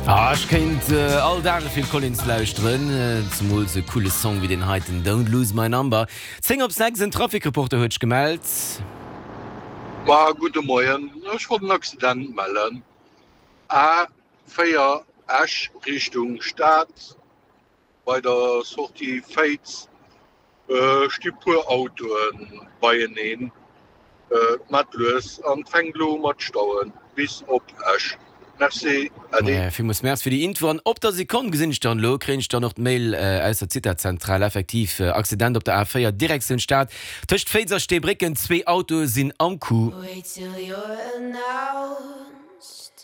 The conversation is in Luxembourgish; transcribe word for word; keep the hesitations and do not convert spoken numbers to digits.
Ah, ech kéint äh, all Dag de Phil Collins lauschteren, äh, zemools e coole Song wéi deen heiten Don't Lose My Number. Zéng op sechs, en Trafikreporter huet sech gemellt. Ma gudde Moien, ech wollt en Accident mellen. A véier Esch Richtung Stad bei der Sortie Féiz sti puer Autoe beieneen. Mat lues an fänkt elo u mat stauen bis op Esch. Merci, Äddi. Villmools Merci fir déi Info. An op der Sekonn gesinn ech dann elo, kréien ech dann och d'Mail aus der Zitazentral, effektiv Accident op der A véier Direktioun Stad tëscht Féiz a Steebrécken, zwee Autoe sinn am Coup. Wait till you're announced.